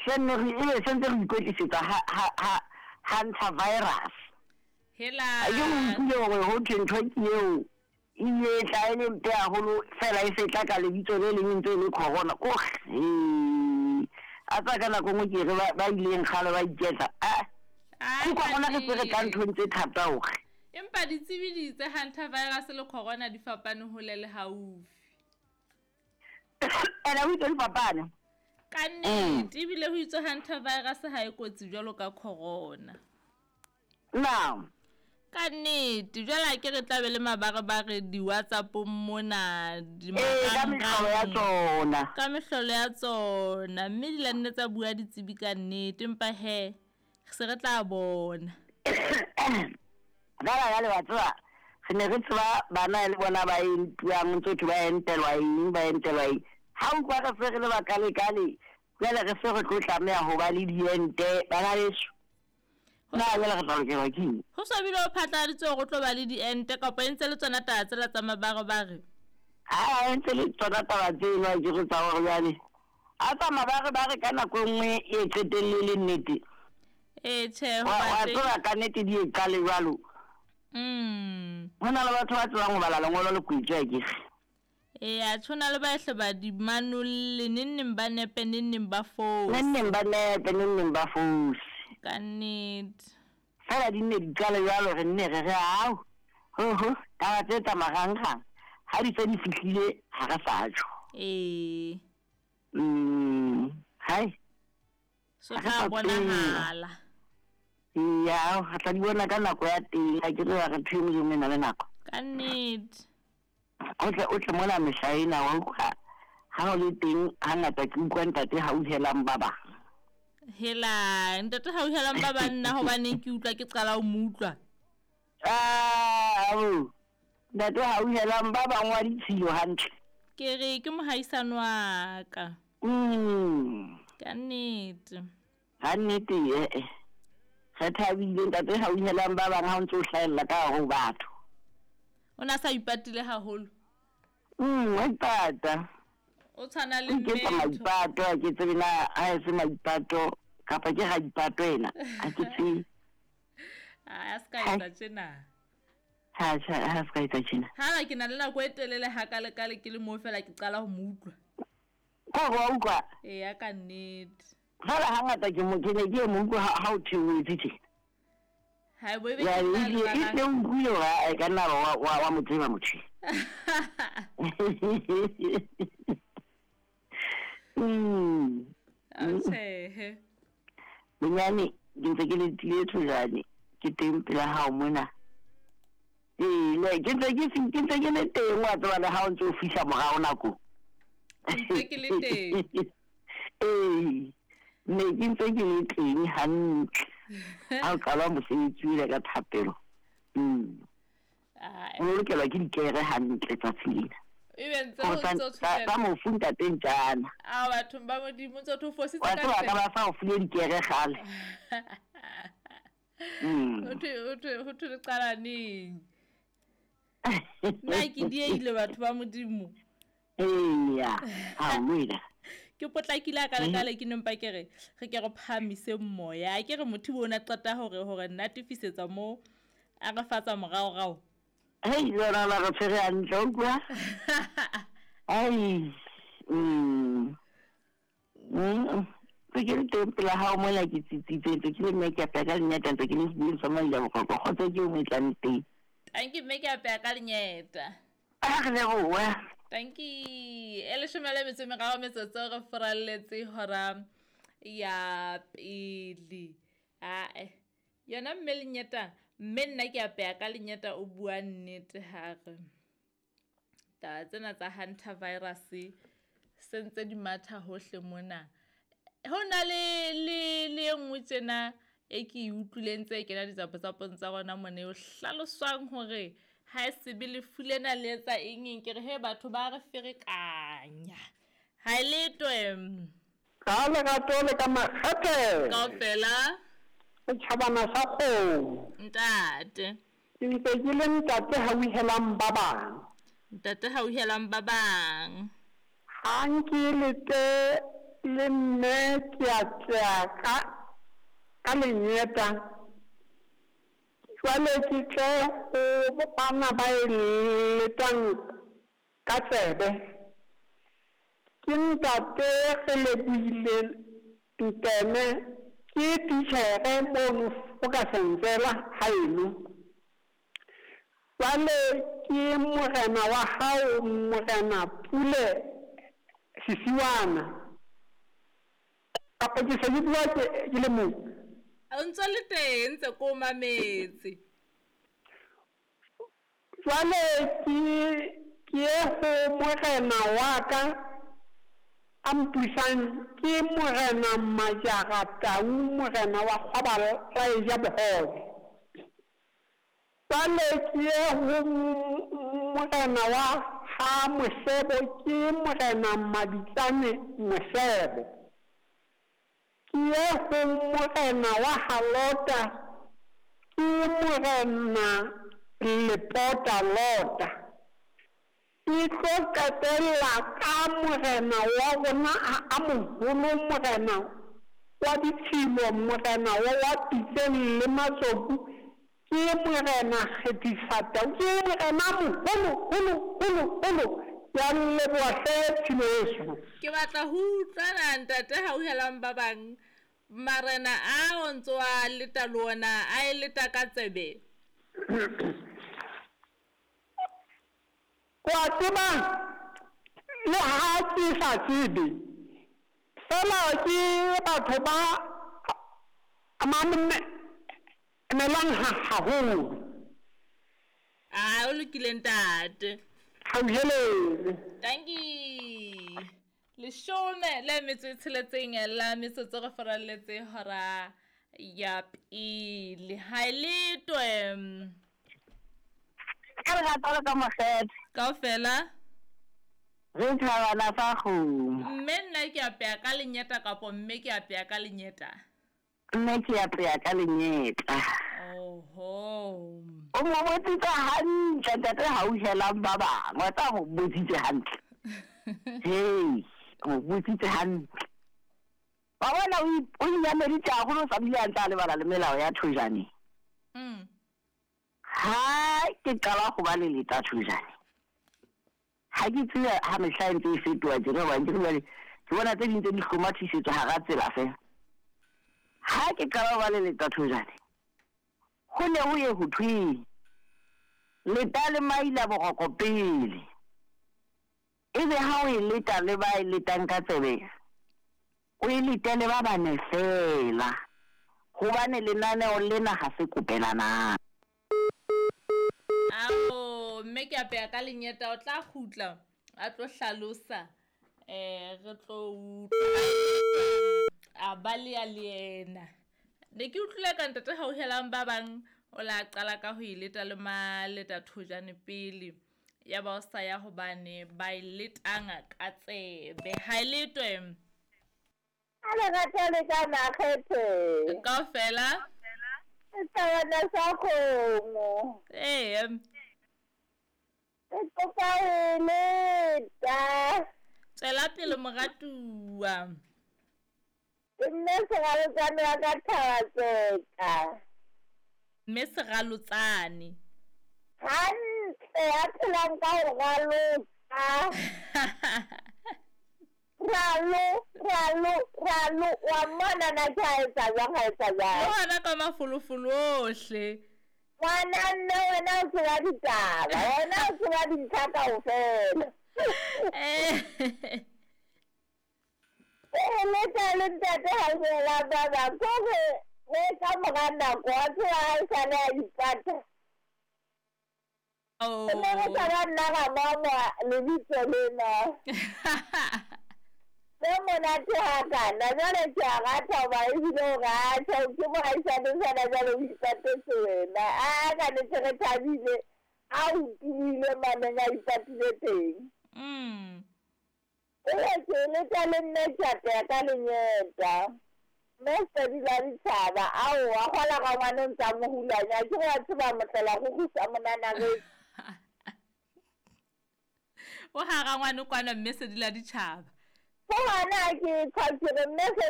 Se nne re ebe se ntse re ikwetlisetsa ha ha ha hunter virus. Hela. A ke o utlwile hore ho thwe ntho ke eo e ile e tla e le mpe haholo fela e se tla ka lebitso le leng e ntse e le corona. Ko he. A tsa ka nako nngwe ke re ba ba ileng kgale ba iketla. A Ai, ke corona re se re tla kannete. nthong tse thata hore. Empa ditsebi di itse hantavirus le corona di fapane hole le haufi. Ene o itse di fapane. Ka nnete, ebile ho itswe hantavirus ha e kotsi jwalo ka corona. Now. Ka nnete, jwale ha ke re tla be le mabarebare di-WhatsApp-ong mona, di Ee, ka mehlolo ya marangrang. tsona. Ka mehlolo ya tsona, mme di la nne tsa bua ditsebi ka nnete, empa he, se re tla bona. Jwale jwale wa tseba, re ne re tseba bana e le bona ba entuwang, ntse ho thwe ba entelwa eng, ba entelwa eng. Ha utlwa re se re le bakalekale, jwale re se re tlo tlameha ho ba le diente, bana beso. Na jwale re tla lokelwa ke eng? Ho so bile ho phatlaladitswe hore o tlo ba le diente kapa e ntse le tsona taba tsela tsa mabarebare? Ha e ntse le tsona taba tseno ha ke re tsa hore jwale a tsa mabarebare ka nako e nngwe e qetelle le nnete. Ee, tjhe, ho Wa ba wa teng. tseba ka nnete di e qale jwalo. Ho na le batho ba tsebang ho bala lengolo le kwetswe akere. Ee, atjhe ho na le ba hle ba di manolle, neng neng ba nepe, neng neng ba fose. Neng neng ba nepe, neng neng ba fose. Ka nnete. Fela di nne di qale jwalo re nne re re au, ho ho, taba tse tsa marangrang ha di se di fihlile ha re sa tjho. Ee. Hai. So Ha re tla sa tseba. bonahala. Ya, re tla di bona ka nako ya teng, ha ke re re ntho e nngwe le e nngwe e na le nako. Ka nnete. O tle o tle mona mehla ena wa utlwa ha o le teng hangata ke utlwa ntate hauhelang ba bang. Hela, ntate hauhelang ba bang nna hobaneng ke utlwa ke qala ho mo utlwa. Ah, abo. Ntate hauhelang ba bang wa ditshilo hantle. Ke re ke mohaisano wa ka. Ka nnete. Ka nnete eh eh. Re thabile ntate hauhelang ba bang ha o ntse o hlahella ka hare ho batho. O na sa ipatile haholo. Wa ipata. O tshwana le O iketsa mmetho. maipato, ha ke tsebe na ha e se maipato kapa ke raipato ena, ha ke tsebe. A se ka etsa tjena. Ha ha ha se ka etsa tjena. Ha ke na le nako e telele hakalekale ke le moo fela ke qala ho mo utlwa. Ko re wa utlwa? Eya ka nnete. Fela hangata ke mo ke ne ke mo utlwa ha o theohetse tjena. Ha bo ebe Ya, ke tla e lebala. tle o utlwile hore a ka nna wa wa wa mo tseba motho. Atjhehe. Bonyane ke ntse ke letile thojane ke teng pela hao mona. Ee, le ke ntse ke ke ntse ke le teng wa tseba le ha o ntse o fihla morao nakong. Ntse ke le teng. Ee, ne ke ntse ke le teng hantle. Ha o qala mosebetsi o ile ka thapelo. Ai. O lokelwa ke dikere hantle tsatsi lena. Ebe ntse Hore o tsa ntse o tsa tshwere. tsa mofu ntate Ntjana. A bathong ba Modimo ntse o tho fositse Wa ka tseba ka ntle. ba sa o file dikere kgale. Ho thwe ho thwe ho thwe le qala neng? Nna ke dieile batho ba Modimo. Eya, ha wena. Ke potlakile a kalekale ke nempa ke re re ke re phahamise moya. Ke re motho o na qeta hore hore natefisetsa mo a re fatsa moraorao. Hei, lona la re tshwere hantle, o utlwa? Ai. Ntse ke le teng pela hao mona ke tsitsitse, ntse ke le mme ke apeya ka lenyata, ntse ke le sebeng sa Maila Boqoqo, kgotso ke o mo tlang teng. Tanki mme ke apeya ka lenyeta. A re lebohe. Tanki e leshome le metso e meraro metsotso re furalletse hora ya pele. Ae, yona mme lenyeta, mme nna ke apeya ka lenyeta o bua nnete ha re. Taba tsena tsa hunter virus se ntse di matha hohle mona. Ho na le le le e nngwe tjena e ke e utlwileng tse kena ditsapotsapong tsa rona mona e hlaloswang hore ha e sebe lefu lena le etsa eng eng ke re he batho ba re ferekanya. Ha e letwe. Ka lerato le ka makgethe. Kaofela. Setjhabana sa kgomo. Ntate. Ke ntse ke le ntate hauhelang ba bang. Ntate hauhelang ba bang. Ha nke lete le mme ke a tlea ka ka lenyeta jwale ke tle ho bana ba e letang ka tsebe. Ke ntate Relebohile Nteme, ke titjhere mono Fokasenzela haeno. Jwale ke morena wa hao Morena Pule Sisiwana. Kapa ke se ke bua ke ke le mong? O ntso le teng ntse ko mametse. Jwale ke ke ye ho morena wa ka a mpusang ke Morena Majara Tau morena wa kgwaba la eja bohobe. Jwale ke ye ho morena wa ha Mosebo ke Morena Mabitsane Mosebo. Ke ye ho morena wa ha Lota ke Morena Lepota Lota. Ke tlo qetella ka morena wa rona a moholo morena wa ditshilo morena wa Pitseng le Matsoku ke Morena Kgethisatau ke morena a moholo holo holo holo ke a leboha hle tshilo yeso. Ke batla ho utlwa na ntate hauhelang ba bang marena a o ntso a leta le ona a e leta ka tsebe. O a tseba, le ha ke sa tsebe, feela ke batho ba mamelang haholo. A o lokile ntate. Hauhelele. Dankie. Leshome le metso e tsheletseng la metsotso re faralletse hora ya pele. Ha e letwe. Ka lerato le ka mokgethe. Kaofela. Re thabana sa kgomo. Mme nna ke apeya ka lenyeta kapo mme ke apeya ka lenyeta? Mme ke apeya ka lenyeta. Oho. O mo botsitse hantle ntate hauhelang ba bang. Wa tseba mo botsitse hantle. Hei, o mo botsitse hantle. Wa bona o inyameditse haholo o sa bile a ntse a lebala le melao ya thojane. Ha ke qala ho ba le leta thojane. Ha ke tsebe ha mehla e ntse e fetoha tjena hobane ke re jwale ke bona tse ding tse di hlomathisetswa hara tsela feela. Ha ke qala ho ba le leta thojane ho ne ho ye ho thwe leta le maila boroko pele. Ebe ha o e leta le ba e letang ka tsebe o e letele ba bane feela hobane lenaneo lena ha se kopelanang. Ao, mme ke apeya ka lenyeta o tla kgutla a tlo hlalosa re tlo utlwa a ba le ya le yena. Ne ke utlwile ka ntate hauhelang ba bang o la qala ka ho e leta le maleta thojane pele ya ba o sa ya hobane ba e letanga ka tsebe. Ha e letwe. A lerato le ka makgethe. Kaofela. Sethabana sa kgomo. Ee. Ke kopa ho e leta. Tswela pele moratuwa. Ke mme Seralotsane wa ka Thabatseka. Mme Seralotsane. Hantle ya phelang ka ho raloka. Ralo, ralo, ralo, wa mmona na ke ha etsa jwang, ha etsa jwang. Le hona ka mafolofolo ohle. Ngwana mme wena o tseba ditaba, wena o tseba dintlha kaofela. E leta le ntate hauhela ba bang kore re ka mora nako wa tseba ha e sale a ipata. Oh. Ne re sa ba nna ra mama lebitso lena. Le monate hakana jwale ke a rata hoba ebile o rata ke mohaisane fela jwale o ipatetse wena. A ka nnete re thabile a utlwile maneng a ipatile teng. Ee ke leta le nne ke apeya ka lenyeta. Mme sedi la ditjhaba aowa kgola ga ngwana o ntsa mo hulanya ke wa tseba motlela go gusa monana re. O hara ngwana kwana mme sedi la ditjhaba. Ke hona ha ke tjha ke re mme se